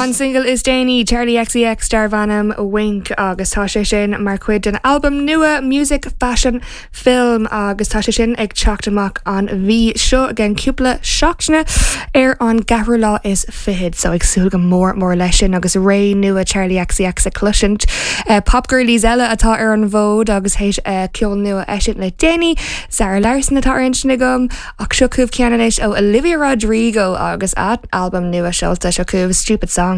An single is déanaí, Charli XCX darb ainm Wink agus tá sé sin mar chuid den albam nua Music Fashion Film agus tá sé sin ag teacht amach an mhí seo i gceann cúpla seachtaine ar an gceathrú lá is fichead so ag súil go mór mór leis sin agus ré nua Charli XCX a chloisint. Pop girlies eile atá ar an bhfód agus théis ceol nua a eisiúint le déanaí, Zara Larsson atá ar intinn agam ach seo chugaibh ceann anois ó Olivia Rodrigo agus a albam nua seolta seo chugaibh Stupid Song.